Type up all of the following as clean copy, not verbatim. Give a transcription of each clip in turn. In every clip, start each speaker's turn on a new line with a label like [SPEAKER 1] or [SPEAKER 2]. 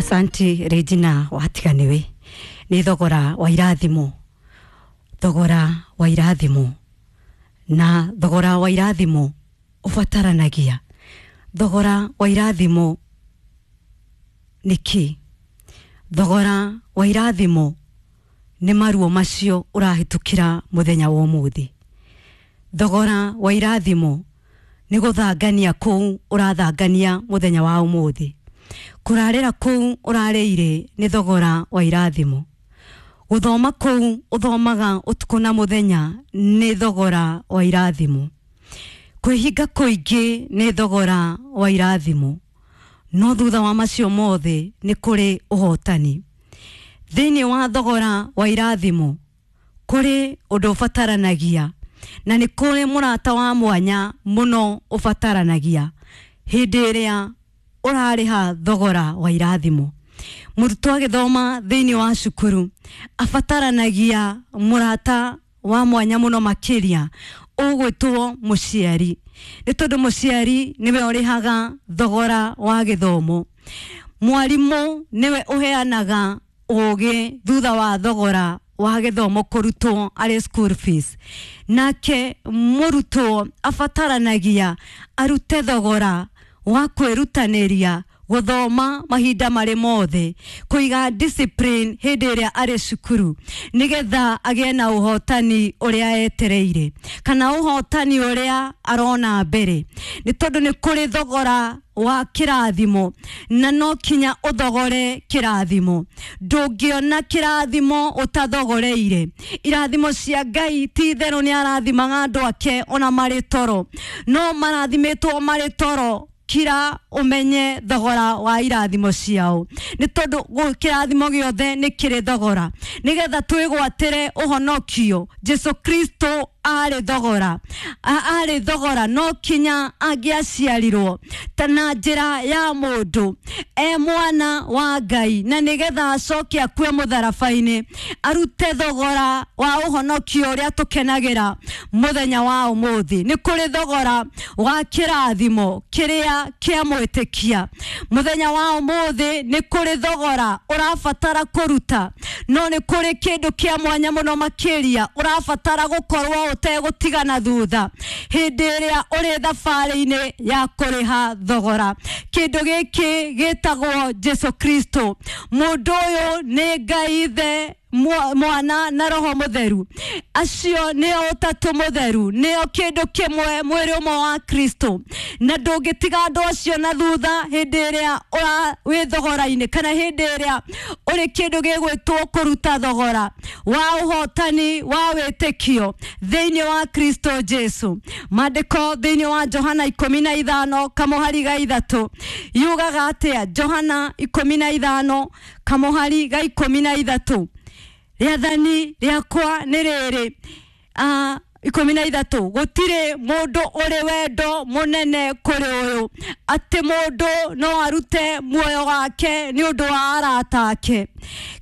[SPEAKER 1] Asanti Regina watiganiwe nĩ thogora wa irathimo, thogora wa irathimo, na thogora wa irathimo ũbataranagia. Thogora wa irathimo nĩ kĩ? Thogora wa irathimo nĩ maruo macio ũrahĩtũkĩra mũthenya wa ũmũthĩ. Thogora wa irathimo nĩ gũthangania kũu ũrathangania mũthenya wa ũmũthĩ. Kũrarĩra kũu ũrarĩire nĩ thogora wa irathimo. Gũthoma kũu ũthomaga ũtukũ na mũthenya nĩ thogora wa irathimo. Kwĩhinga kũingĩ nĩ thogora wa irathimo. No thutha wa macio mothe nĩ kũrĩ ũhotani. Thĩinĩ wa thogora wa irathimo kũrĩ ũndũ ũbataranagia, na nĩ kũrĩ mũrata wa mwanya mũno ũbataranagia hĩndĩ ĩrĩa ũrarĩha thogora wa irathimo. Mũrutwo agĩthoma thĩinĩ wa cukuru abataranagia mũrata wa mwanya mũno makĩria ũgwĩtwo mũciari, nĩ tondũ mũciari nĩwe ũrĩhaga thogora wa gĩthomo. Mwarimũ nĩwe ũheanaga ũgĩ thutha wa thogora wa gĩthomo kũrutwo arĩ school fees. Nake mũrutwo abataranagia arute thogora wa kwĩrutanĩria gũthoma mahinda marĩ mothe, kũiga discipline hĩndĩ ĩrĩa arĩ cukuru, nĩgetha agĩe na ũhotani ũrĩa etereire kana ũhotani ũrĩa arona mbere, nĩ tondũ nĩ kũrĩ thogora wa kĩrathimo na no kinya ũthogore kĩrathimo. Ndũngĩona kĩrathimo ũtathogoreire. Irathimo cia Ngai ti itherũ nĩ arathimaga andũ ake ona marĩ toro, no marathimĩtwo marĩ toro. Kira ũmenye thogora wa irathimo ciao, nĩ tondũ kĩrathimo gĩothe nĩ kĩrĩ thogora. Nĩgetha twĩgwatĩre ũhonokio, Jesu Kristo arĩ thogora, arĩ thogora no kinya angĩaciarirwo ta na njĩra ya mũndũ e mwana wa Ngai, na nĩgetha acoke akue mũtharaba-inĩ arute thogora wa ũhonokio ũrĩa tũkenagĩra mũthenya wa ũmũthĩ. Nĩ kũrĩ thogora wa kĩrathimo kĩrĩa kĩa mwĩtĩkia mũthenya wa ũmũthĩ. Nĩ kũrĩ thogora ũrabatara kũruta, no nĩ kũrĩ kĩndũ kĩa mwanya mũno makĩria ũrabatara gũkorwo ũtegũtigana thutha hĩndĩ ĩrĩa ũrĩ thabarĩ-inĩ ya kũrĩha thogora. Kĩndũ gĩkĩ gĩtagwo Jesu Kristo. Mũndũ ũyũ nĩ Ngai Ithe, Mwana na Roho Mũtheru. Acio nĩo ũtatũ mũtheru, nĩo kĩndũ kĩmwe, mwĩrĩ ũmwe wa Kristo, na ndũngĩtiga andũ acio na thutha hĩndĩ ĩrĩa wĩ thogora-inĩ kana hĩndĩ ĩrĩa ũrĩ kĩndũ gĩgwĩtwo kũruta thogora wa ũhotani wa wĩtĩkio thĩinĩ wa Kristo Jesu. Maandĩko thĩinĩ wa Johana 15 kamũhari ga 3 yugaga atĩa? Johana 15 kamũhari ga 13, rĩathani rĩakwa nĩ rĩrĩ, 13, gũtirĩ mũndũ ũrĩ wendo mũnene kũrĩ ũyũ, atĩ mũndũ no arute muoyo wake nĩ ũndũ wa arata ake.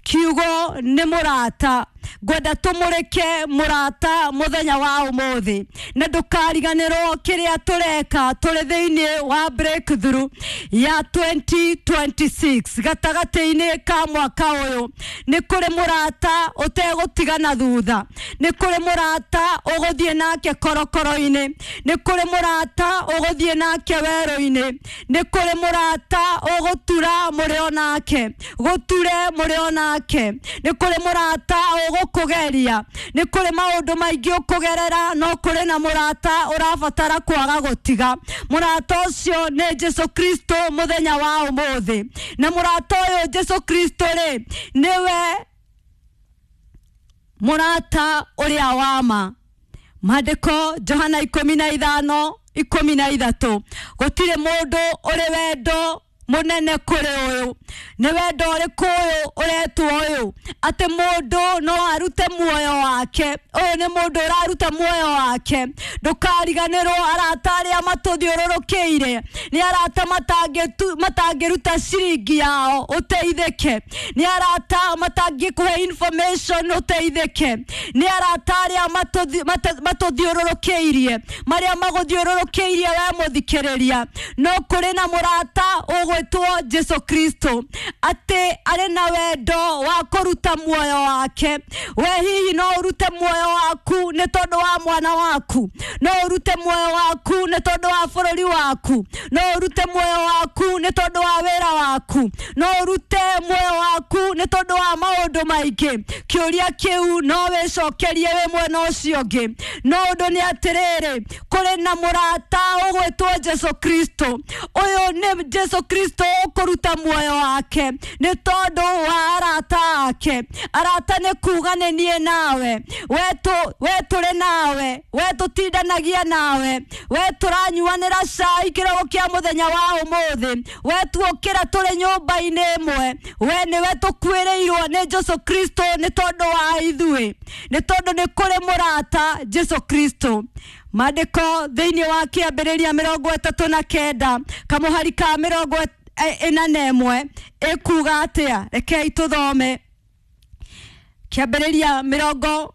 [SPEAKER 1] Kiugo nĩ mũrata. Ngwenda tũmũrĩke mũrata mũthenya wa ũmũthĩ, na ndũkariganĩrwo kĩrĩa tũreka tũrĩ thĩinĩ wa breakthrough ya 2026. Gatagatĩ-inĩ ka mwaka ũyũ nĩ kũrĩ mũrata ũtegũtigana thutha, nĩ kũrĩ mũrata ũgũthiĩ nake korokoro-inĩ, nĩ kũrĩ mũrata ũgũthiĩ nake werũ-inĩ, nĩ kũrĩ mũrata ũgũtura mũrĩ o nake, gũture mũrĩ o nake, nĩ kũrĩ mũrata ũgũkũgeria, nĩ kũrĩ maũndũ maingĩ ũkũgerera, no kũrĩ na mũrata ũrabatara kwaga gũtiga. Mũrata ũcio nĩ Jesu Kristo mũthenya wa ũmũthĩ, na mũrata ũyũ Jesu Kristo rĩ, nĩwe mũrata ũrĩa wa ma. Maandĩko Johana 15:13, gũtirĩ mũndũ ũrĩ wendo mũnene kũrĩ ũyũ. Nĩ wendo ũrĩkũ ũyũ ũretwo ũyũ, atĩ mũndũ no arute muoyo wake? Ũyũ nĩ mũndũ ũraruta muoyo wake. Ndũkariganĩrwo arata arĩa matũthiũrũrũkĩire nĩ arata matangĩruta ciringi yao ũteithĩke, nĩ arata matangĩkũhe information ũteithĩke, nĩ arata arĩa matũthiũrũrũkĩirie, marĩa magũthiũrũrũkĩirie we mũthikĩrĩria, no kũrĩ na mũrata ũgwĩtwo Jesu Kristo. Kristo atĩ arĩ na wendo wa kũruta muoyo wake. We hihi no ũrute muoyo waku nĩ tondũ wa mwana waku, no ũrute muoyo waku nĩ tondũ wa bũrũri waku, no ũrute muoyo waku nĩ tondũ wa wĩra waku, no ũrute muoyo waku nĩ tondũ wa maũndũ maingĩ. Kĩũria kĩu no wĩcokerie wĩ mwena ũcio ũngĩ, no ũndũ nĩ atĩrĩrĩ, kũrĩ na mũrata ũgwĩtwo Jesu Kristo. Ũyũ nĩ Jesu Kristo ũkũruta muoyo wake nĩ tondũ wa arata ake. Arata nĩ kuga nĩ niĩ nawe, we tũrĩ nawe, we tũtindanagia nawe, we tũranyuanĩra cai kĩroko kĩa mũthenya wa ũmũthĩ, we tuokĩra tũrĩ nyũmba-inĩ ĩmwe, we nĩwe tũkuĩrĩirwo nĩ Jesu Kristo nĩ tondũ wa ithuĩ, nĩ tondũ nĩ kũrĩ mũrata Jesu Kristo. Maandĩko thĩinĩ wa kĩambĩrĩria 39 kamũhari ka 41 ĩkuga atĩa? Rekei tũthome kĩambĩrĩria 30,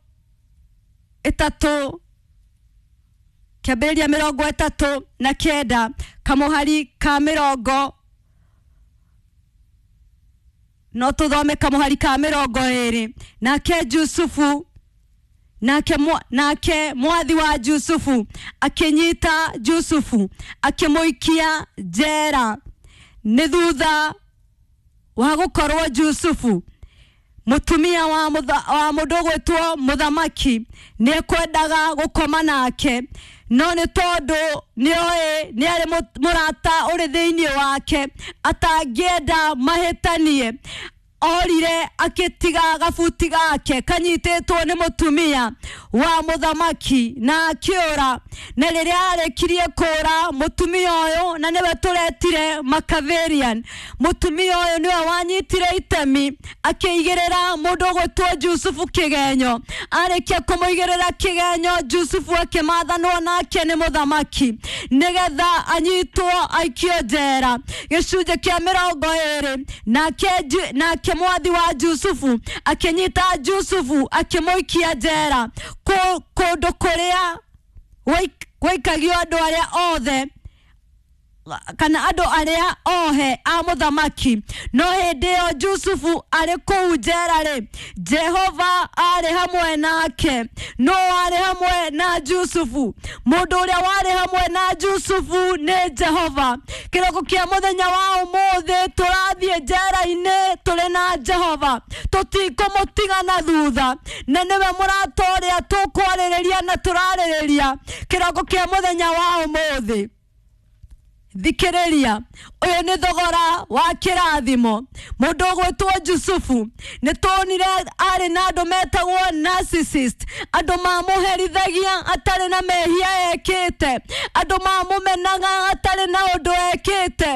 [SPEAKER 1] kĩambĩrĩria 39 kamũhari ka mĩrongo, no tũthome kamũhari ka 20. Nake Jusufu, nake mwathi wa Jusufu akĩnyita Jusufu akĩmũikia njera nĩ thutha wa gũkorwo Jusufu mũtumia wa mũndũ ũgwĩtwo mũthamaki nĩ ekwendaga gũkoma nake, no nĩ tondũ nĩoĩ nĩ arĩ mũrata ũrĩ thĩinĩ wake atangĩenda mahĩtanie, orire akĩtiga gabuti gake kanyitĩtwo nĩ mũtumia wa mũthamaki na akĩũra. Na rĩrĩa arĩkirie kũũra, mũtumia ũyũ, na nĩwe tũretire Makaverian, mũtumia ũyũ nĩwe wanyitire itemi akĩigĩrĩra mũndũ ũgwĩtwo Jusufu kĩgenyo. Arĩkia kũmũigĩrĩra kĩgenyo, Jusufu akĩmathanwo nake nĩ mũthamaki nĩgetha anyitwo aikio njera. Gĩcunjĩ kĩa 20, nake mwathi wa Jusufu akĩnyita Jusufu akĩmũikia njera kũndũ kũrĩa gwaikagio andũ arĩa othe kana andũ arĩa ohe a mũthamaki. No hĩndĩ ĩyo Jusufu arĩ kũu njera rĩ, Jehova arĩ hamwe nake. No arĩ hamwe na Jusufu. Mũndũ ũrĩa warĩ hamwe na Jusufu nĩ Jehova. Kĩroko kĩa mũthenya wa ũmũthĩ tũrathiĩ njera-inĩ tũrĩ na Jehova, tũtikũmũtiga na thutha, na nĩwe mũrata ũrĩa tũkwarĩrĩria na tũrarĩrĩria kĩroko kĩa mũthenya wa ũmũthĩ. Thikĩrĩria, ũyũ nĩ thogora wa kĩrathimo. Mũndũ ũgwĩtwo Jusufu nĩ tuonire arĩ na andũ metagwo narcissist, andũ mamũherithagia atarĩ na mehia ekĩte, andũ mamũmenaga atarĩ na ũndũ ekĩte,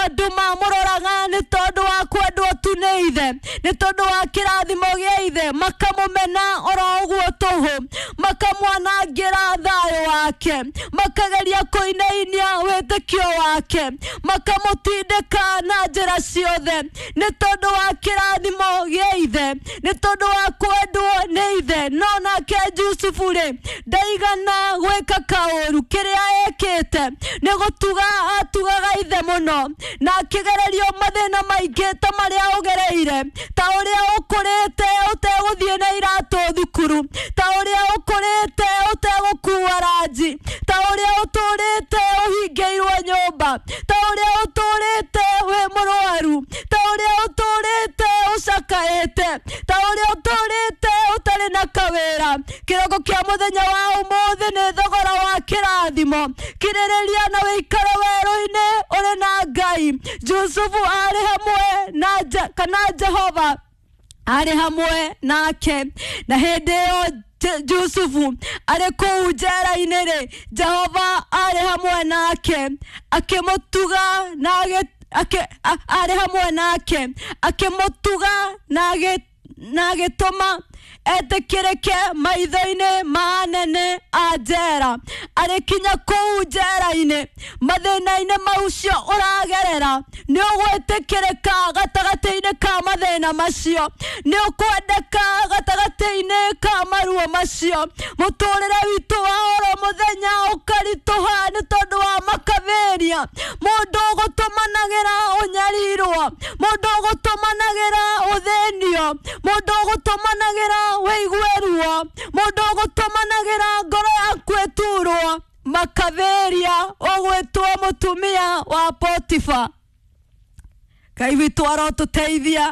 [SPEAKER 1] andũ mamũroraga nĩ tondũ wa kwendwo tu nĩ ithe, nĩ tondũ wa kĩrathimo gĩa ithe, makamũmena oro ũguo tũhũ, makamwanangĩra thayũ wake, makageria kũinainia wĩtĩkio wake, makamũtindĩka na njĩra ciothe nĩ tondũ wa kĩrathimo gĩa ithe, nĩ tondũ wa kwendwo nĩ ithe. No nake Jusufu rĩ, ndaigana gwĩka kaũru. Kĩrĩa ekĩte nĩ gũtuga atugaga ithe mũno, na akĩgererio mathĩna maingĩ ta marĩa ũgereire, ta ũrĩa ũkũrĩte ũtegũthiĩ na iratũ thukuru, ta ũrĩa ũkũrĩte ũtegũkua ranji, ta ũrĩa ũtũrĩte ũhingĩirwo nyũmba, ta ũrĩa ũtũrĩte wĩ mũrwaru, ta ũrĩa ũtũrĩte ũcakaĩte, ta ũrĩa ũtũrĩte ũtarĩ na kawĩra. Kĩroko kĩa mũthenya wa ũmũthĩ nĩ thogora wa kĩrathimo. Kirĩrĩria na wĩikare werũ-inĩ ũrĩ na Ngai. Jusufu arĩ hamwe na kana Jehova arĩ hamwe nake, na hĩndĩ ĩyo Jusufu arĩ kũu njera-inĩ rĩ, Jehova arĩ hamwe nake akĩmũtuga na arĩ hamwe nake akĩmũtuga na Na agĩtũma etĩkĩrĩke maitho-inĩ ma anene a njera. Arĩkinya kũu njera-inĩ, mathĩna-inĩ macio ũragerera, nĩ ũgwĩtĩkĩrĩka gatagatĩ-inĩ ka mathĩna macio, nĩ ũkwendeka gatagatĩ-inĩ ka maruo macio. Mũtũrĩre witũ wa oro mũthenya ũkaritũha nĩ tondũ wa makabĩria. Mũndũ ũgũtũmanagĩra ũnyarirwo, mũndũ ũgũtũmanagĩra ũthĩnio, mũndũ ũgũtũmanagĩra wĩigue ruo, mũndũ ũgũtũmanagĩra ngoro yaku ĩturwo. Makabĩria ũgwĩtwo mũtumia wa Potifa. Ngai witũ arotũteithia,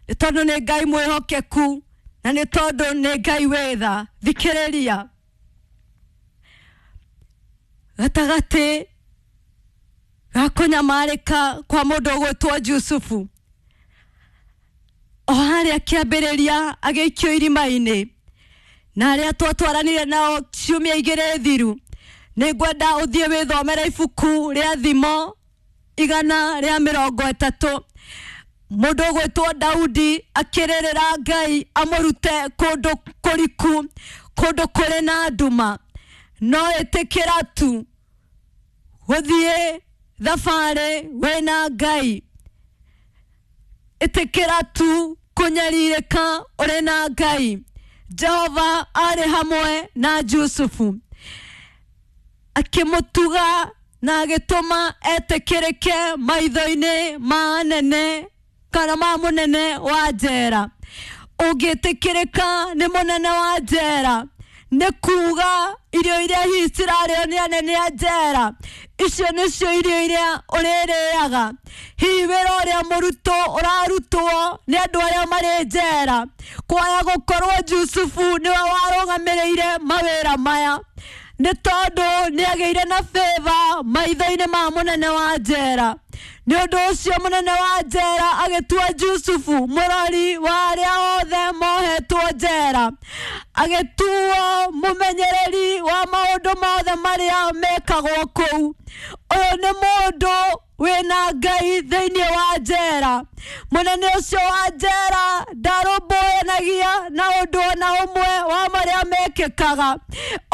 [SPEAKER 1] nĩ tondũ nĩ Ngai mwĩhokeku na nĩ tondũ nĩ Ngai wĩ tha. Thikĩrĩria, gatagatĩ ga kũnyamarĩka kwa mũndũ ũgwĩtwo Jusufu, o harĩa kĩambĩrĩria agĩikio irima-inĩ, na arĩa twatwaranire nao ciumia igĩrĩ thiru, nĩ ngwenda ũthiĩ wĩthomere ibuku rĩa Thimo 130. Mũndũ ũgwĩtwo Daudi akĩrĩrĩra Ngai amũrute kũndũ kũriku, kũndũ kũrĩ na nduma. No ĩtĩkĩra tu gũthiĩ thabarĩ wĩna Ngai, ĩtĩkĩra tu kũnyarirĩka ũrĩ na Ngai. Jehova arĩ hamwe na Jusufu, akĩmũtuga na agĩtũma etĩkĩrĩke maitho-inĩ ma anene kana ma mũnene wa njera. Ũngĩtĩkĩrĩka nĩ mũnene wa njera, nĩ kuga irio iria hihi cirarĩo nĩ anene a njera, icio nĩcio irio iria ũrĩrĩaga. Hihi wĩra ũrĩa mũrutwo ũrarutwo nĩ andũ arĩa marĩ njera, kwaya gũkorwo Jusufu nĩwe warũgamĩrĩire mawĩra maya, nĩ tondũ nĩ agĩire na favor maitho-inĩ ma mũnene wa njera. Nĩ ũndũ ũcio mũnene wa njera agĩtua Jusufu mũrori wa arĩa othe mohetwo njera, agĩtuo mũmenyereri wa maũndũ mothe marĩa mekagwo kũu. Ũyũ nĩ mũndũ wĩna Ngai thĩinĩ wa njera. Mũnene ũcio wa njera ndarũmbũyanagia na ũndũ ona ũmwe wa marĩa mekĩkaga,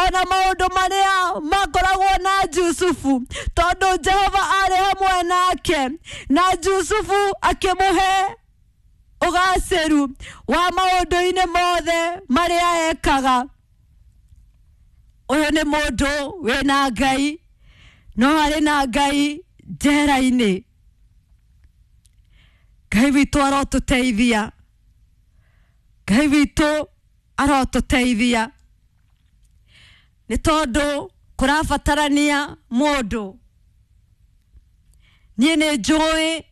[SPEAKER 1] ona maũndũ marĩa makoragwo na Jusufu, tondũ Jehova arĩ hamwe nake, na Jusufu akĩmũhe ũgacĩru wa maũndũ-inĩ mothe marĩa ekaga. Ũyũ nĩ mũndũ wĩna Ngai, no arĩ na Ngai njera-inĩ. Ngai witũ arotũteithia, Ngai witũ arotũteithia, nĩ tondũ kũrabatarania mũndũ. Niĩ nĩ njũĩ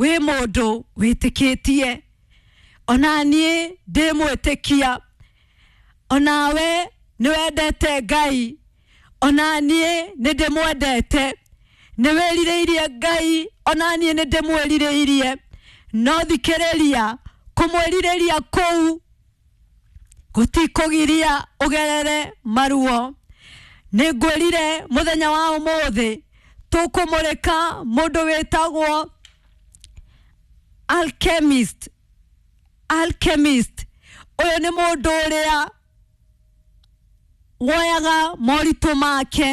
[SPEAKER 1] wĩ mũndũ wĩtĩkĩtie, ona niĩ ndĩ mwĩtĩkia, onawe nĩ wendete Ngai, ona niĩ nĩ ndĩmwendete, nĩ wĩrirĩirie Ngai, ona niĩ nĩ ndĩmwĩrirĩirie. No thikĩrĩria, kũmwĩrirĩria kũu gũtikũgiria ũgerere maruo. Nĩ ngwĩrire mũthenya wa ũmũthĩ tũkũmũrĩka mũndũ wĩtagwo alchemist. Alchemist ũyũ nĩ mũndũ ũrĩa woyaga moritũ make,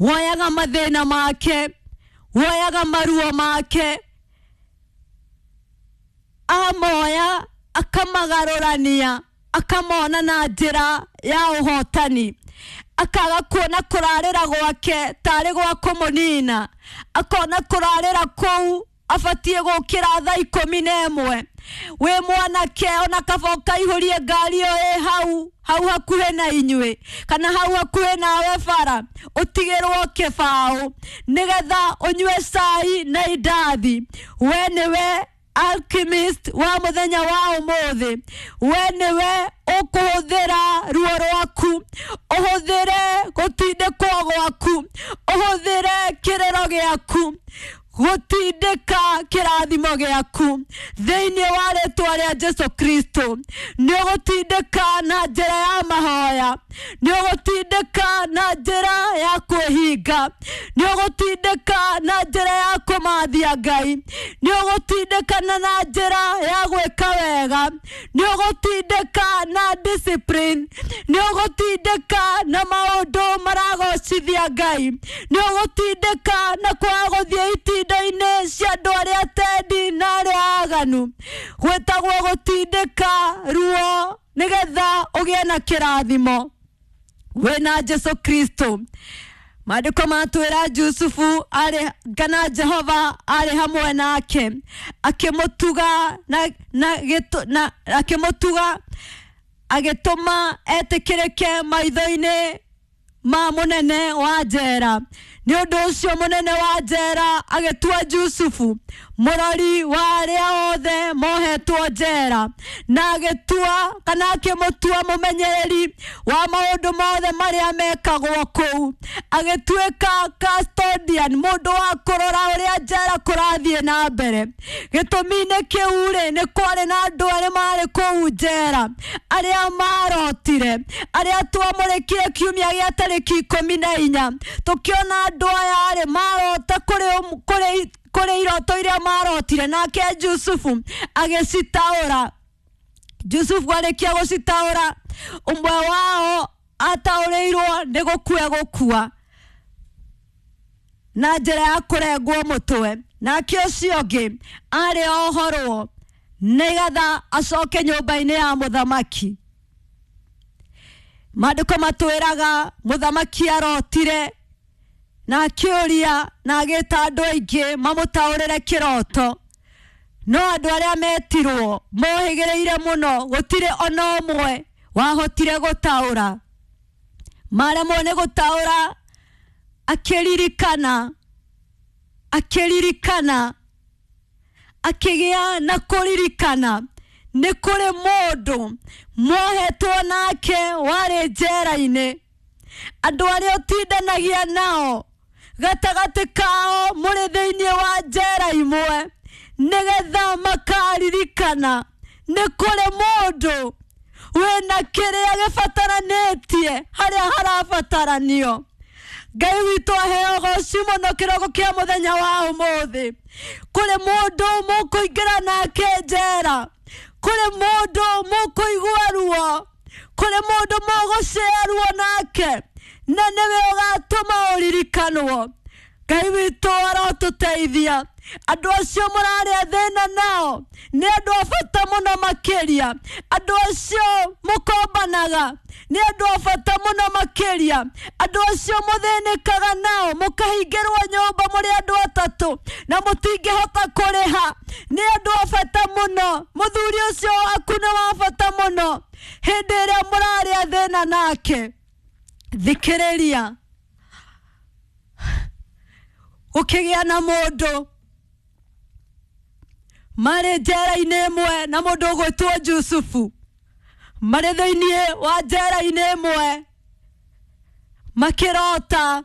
[SPEAKER 1] woyaga mathĩna make, woyaga maruo make, amoya akamagarũrania, akamona na njĩra ya ũhotani, akaga kuona kũrarĩra gwake tarĩ gwa kũmũnina, akona kũrarĩra kũu abatiĩ gũkĩra thaa 11. Wĩ mwanake ona kaba ũkaihũrie ngari ĩyo ĩ hau hau hakuhĩ na inyuĩ, kana hau hakuhĩ nawe bara, ũtigĩrwo kĩbaũ nĩgetha ũnyue cai na indathi. We nĩwe alchemist wa mũthenya wa ũmũthĩ. We nĩwe ũkũhũthĩra ruo rwaku, ũhũthĩre gũtindĩkwo gwaku, ũhũthĩre kĩrĩro gĩaku Gũtindĩka kĩrathimo gĩaku thĩinĩ wa rĩtwa rĩa Jesu Kristo. Nĩ ũgũtindĩka na njĩra ya mahoya, nĩ ũgũtindĩka na njĩra ya kwĩhinga, nĩ ũgũtindĩka na njĩra ya kũmathia Ngai, nĩ ũgũtindĩka na njĩra ya gwĩka wega, nĩ ũgũtindĩka na discipline, nĩ ũgũtindĩka na maũndũ maragocithia Ngai, nĩ ũgũtindĩka na kwaga gũthiĩ itinda-inĩ cia andũ arĩa tendi na arĩa aganu. Gwĩtagwo gũtindĩka ruo nĩgetha ũgĩe na kĩrathimo wĩna Jesu Kristo. Maandĩko matwĩra Jusufu arĩ kana Jehova arĩ hamwe nake, akĩmũtuga na akĩmũtuga agĩtũma etĩkĩrĩke maitho-inĩ ma mũnene wa njera. Nĩ ũndũ ũcio mũnene wa njera agĩtua Jusufu mũrori wa arĩa othe mohetwo njera, na agĩtua kana akĩmũtua mũmenyereri wa maũndũ mothe marĩa mekagwo kũu. Agĩtuĩka custodian, mũndũ wa kũrora ũrĩa njera kũrathiĩ na mbere. Gĩtũmi-inĩ kĩu rĩ, nĩ kwarĩ na andũ arĩa marĩ kũu njera arĩa marotire, arĩa twamũrĩkire kiumia gĩa tarĩki 14, tũkĩona andũ aya rĩ marota kũrĩ iroto iria marotire, nake Jusufu agĩcitaũra. Jusufu arĩkia gũcitaũra, ũmwe wao ataũrĩirwo nĩ gũkua gũkua na njĩra ya kũrengwo mũtwe, nake ũcio ũngĩ arĩ ohorwo nĩgetha acoke nyũmba-inĩ ya mũthamaki. Maandĩko matwĩraga mũthamaki arotire na akĩũria na agĩta andũ aingĩ mamũtaũrĩre kĩroto, no andũ arĩa metirwo mohĩgĩrĩire mũno, gũtirĩ ona ũmwe wahotire gũtaũra. Maremwo nĩ gũtaũra, akĩririkana, akĩririkana, akĩgĩa na kũririkana nĩ kũrĩ mũndũ mohetwo nake warĩ njera-inĩ. Andũ arĩa ũtindanagia nao gatagatĩ kao mũrĩ thĩinĩ wa njera imwe, nĩgetha makaririkana nĩ kũrĩ mũndũ wĩna kĩrĩa gĩbataranĩtie harĩa harabataranio. Ngai witũ aheo ũgoci mũno kĩroko kĩa mũthenya wa ũmũthĩ. Kũrĩ mũndũ mũkũingĩra nake njera, kũrĩ mũndũ mũkũigua ruo, kũrĩ mũndũ mũgũcĩa ruo nake, na nĩwe ũgatũma ũririkanwo. Ngai witũ arotũteithia. Andũ acio mũrarĩa thĩna nao nĩ andũ a bata mũno makĩria. Andũ acio mũkombanaga nĩ andũ a bata mũno makĩria. Andũ acio mũthĩnĩkaga nao mũkahingĩrwo nyũmba mũrĩ andũ atatũ na mũtingĩhota kũrĩha nĩ andũ a bata mũno. Mũthuri ũcio waku nĩ wa bata mũno hĩndĩ ĩrĩa mũrarĩa thĩna nake. Thikĩrĩria, gũkĩgĩa na mũndũ marĩ njera-inĩ ĩmwe na mũndũ ũgwĩtwo Jusufu, marĩ thĩinĩ wa njera-inĩ ĩmwe makĩrota,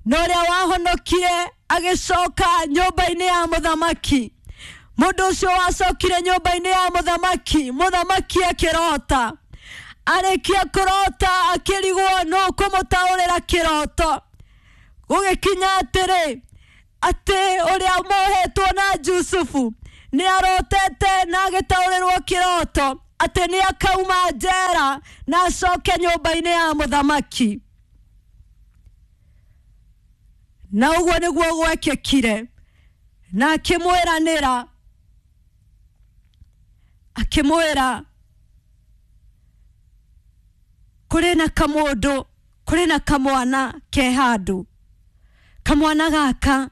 [SPEAKER 1] na ũrĩa wahonokire agĩcoka nyũmba-inĩ ya mũthamaki. Mũndũ ũcio wacokire nyũmba-inĩ ya mũthamaki, mũthamaki akĩrota. Arĩkia kũrota akĩrigwo nũ kũmũtaũrĩra kĩroto. Gũgĩkinya atĩrĩ, atĩ ũrĩa mohetwo na Jusufu nĩ arotete na agĩtaũrĩrwo kĩroto atĩ nĩ akauma njera na acoke nyũmba-inĩ ya mũthamaki. Na ũguo nĩguo gwekĩkire, na akĩmwĩranĩra, akĩmwĩra kũrĩ na kamũndũ, kũrĩ na kamwana ke handũ. Kamwana gaka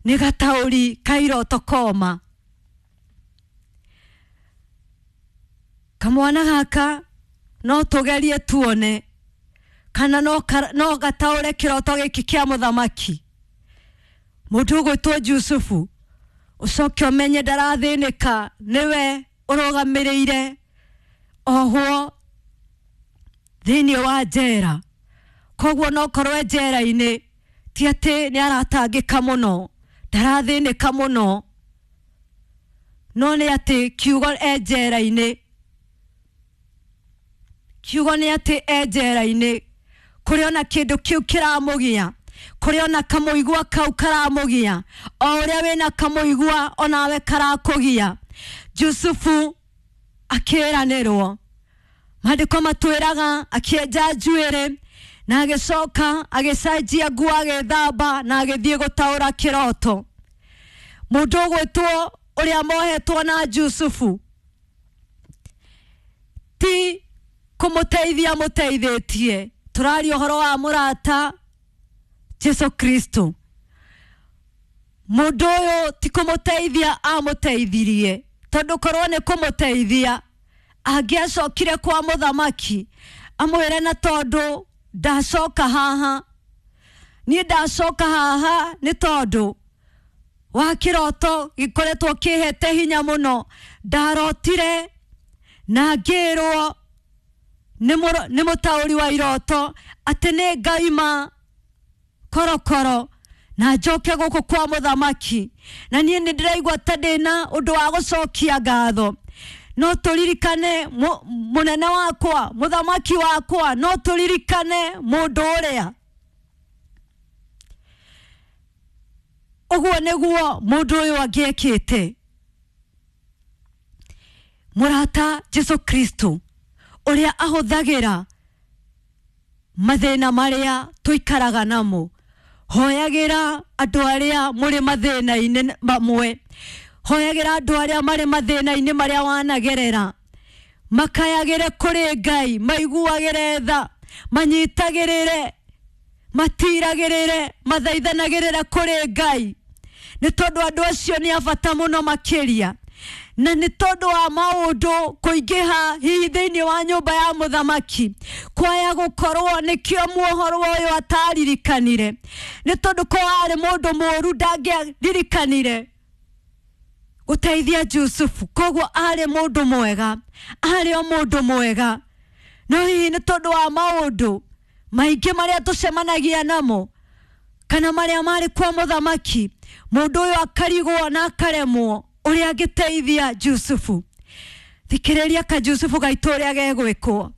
[SPEAKER 1] nĩ gataũri ka iroto koma. Kamwana gaka no tũgerie tuone kana no gataũre kĩroto gĩkĩ kĩa mũthamaki. Mũndũ ũgwĩtwo Jusufu, ũcoke ũmenye ndarathĩnĩka, nĩwe ũrũgamĩrĩire ohwo thĩinĩ wa njera. Koguo no korwo e njera-inĩ ti atĩ nĩ aratangĩka mũno, Ndarathinĩka mũno no nĩ atĩ kiugo e njera-inĩ, kiugo nĩ atĩ e njera-inĩ kũrĩ ona kĩndũ kĩu kĩramũgia, kũrĩ ona kamũigua kau karamũgia, o ũrĩa wĩna kamũigua onawe karakũgia. Jusufu akĩĩranĩrwo, maandĩko matwĩraga akĩenja njuĩrĩ na agĩcoka agĩcenjia nguo agĩthamba na agĩthiĩ gũtaũra kĩroto. Mũndũ ũgwĩtwo ũrĩa mohetwo na Jusufu ti kũmũteithia mũteithĩtie, tũraria ũhoro wa mũrata Jesu Kristo. Mũndũ ũyũ ti kũmũteithia amũteithirie, tondũ korwo nĩ kũmũteithia angĩacokire kwa mũthamaki amwĩre na tondũ ndacoka haha, niĩ ndacoka haha nĩ tondũ wa kĩroto gĩkoretwo kĩhete hinya mũno, ndarotire na ngĩrwo nĩ mũtaũri wa iroto atĩ nĩ ngaima korokoro na njoke gũkũ kwa mũthamaki, na niĩ nĩ ndĩraigua ta ndĩna ũndũ wa gũcokia ngatho. No tũririkane mũnene wakwa, mũthamaki wakwa, no tũririkane mũndũ ũrĩa. Ũguo nĩguo mũndũ ũyũ angĩekĩte. Mũrata Jesu Kristo ũrĩa ahũthagĩra mathĩna marĩa tũikaraga namo, hoyagĩra andũ arĩa mũrĩ mathĩna-inĩ mamwe, hoyagĩra andũ arĩa marĩ mathĩna-inĩ marĩa wanagerera, makayagĩre kũrĩ Ngai, maiguagĩre tha, manyitagĩrĩre, matiragĩrĩre, mathaithanagĩrĩre kũrĩ Ngai, nĩ tondũ andũ acio nĩ a bata mũno makĩria, na nĩ tondũ wa maũndũ kũingĩha hihi thĩinĩ wa nyũmba ya mũthamaki kwaya gũkorwo nĩkĩo muohoro ũyũ ataririkanire, nĩ tondũ ko arĩ mũndũ mũũru ndangĩaririkanire gũteithia Jusufu. Koguo arĩ mũndũ mwega, arĩ o mũndũ mwega, no hihi nĩ tondũ wa maũndũ maingĩ marĩa tũcemanagia namo kana marĩa marĩ kwa mũthamaki, mũndũ ũyũ akarigwo na akaremwo ũrĩa angĩteithia Jusufu. Thikĩrĩria ka Jusufu gaitũ ũrĩa gegwĩkwo.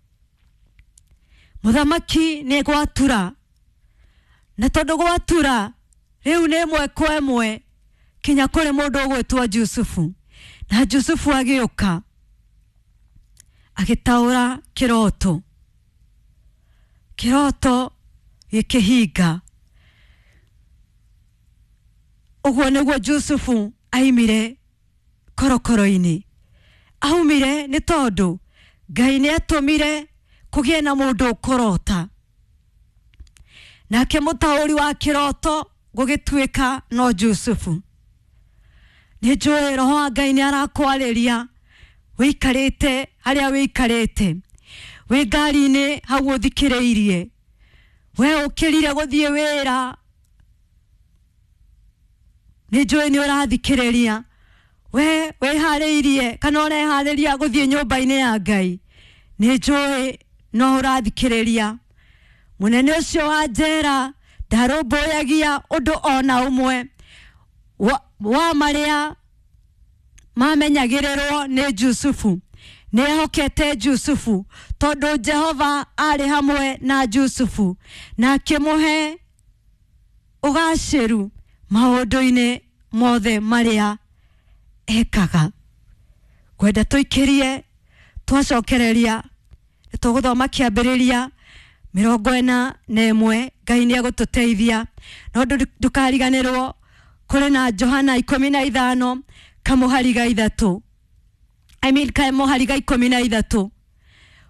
[SPEAKER 1] Mũthamaki nĩ gwatura, na tondũ gwatura rĩu nĩ ĩmwe kwa ĩmwe kinya kũrĩ mũndũ ũgwĩtwo Jusufu. Na Jusufu agĩũka agĩtaũra kĩroto, kĩroto gĩkĩhinga. Ũguo nĩguo Jusufu aimire korokoro-inĩ. Aumire nĩ tondũ Ngai nĩ atũmire kũgĩe na mũndũ ũkũrota, nake mũtaũri wa kĩroto gũgĩtuĩka no Jusufu. Nĩ njũĩ roho wa Ngai nĩ arakwarĩria wĩikarĩte harĩa wĩikarĩte, wĩ ngari-inĩ hau ũthikĩrĩirie, we ũkĩrire gũthiĩ wĩra, nĩ njũĩ nĩ ũrathikĩrĩria, we wĩharĩirie kana ũreharĩria gũthiĩ nyũmba-inĩ ya Ngai, nĩ njũĩ no ũrathikĩrĩria. Mũnene ũcio wa njera ndarũmbũyagia ũndũ ona ũmwe wa marĩa mamenyagĩrĩrwo nĩ Jusufu. Nĩ ehokete Jusufu tondũ Jehova arĩ hamwe na Jusufu na akĩmũhe ũgacĩru maũndũ-inĩ mothe marĩa ekaga. Ngwenda tũikĩrie twacokereria tũgũthoma kĩambĩrĩria 41. Ngai nĩ egũtũteithia, no ndũkariganĩrwo kũrĩ na Johana 15 kamũhari ga 3, I mean kamũhari ga 13.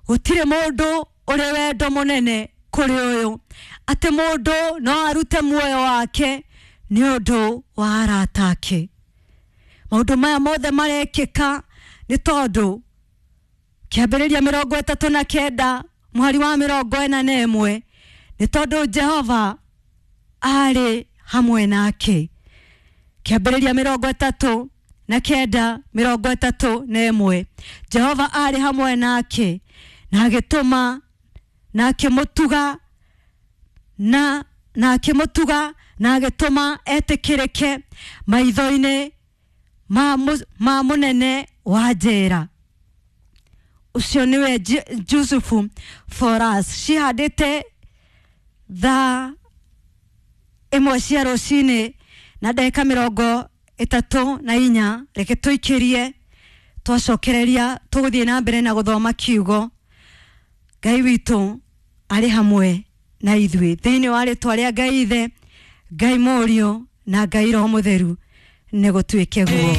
[SPEAKER 1] Gũtirĩ mũndũ ũrĩ wendo mũnene kũrĩ ũyũ, atĩ mũndũ no arute muoyo wake nĩ ũndũ wa arata ake. Maũndũ maya mothe marekĩka nĩ tondũ kĩambĩrĩria 39 mũhari wa 41, nĩ tondũ Jehova arĩ hamwe nake. Kĩambĩrĩria 39 31, Jehova arĩ hamwe nake na agĩtũma na akĩmũtuga na na akĩmũtuga na agĩtũma etĩkĩrĩke maitho-inĩ ma mũnene wa njera. Ũcio nĩwe Jusufu for us. Cihandĩte thaa 1 cia rũcinĩ na ndagĩka 34. Reke tũikĩrie, twacokereria tũgũthiĩ na mbere na gũthoma kiugo. Ngai witũ arĩ hamwe na ithuĩ thĩinĩ wa rĩtwa rĩa Ngai Ithe, Ngai Mũriũ na Ngai Roho Mũtheru, nĩ gũtuĩke guo.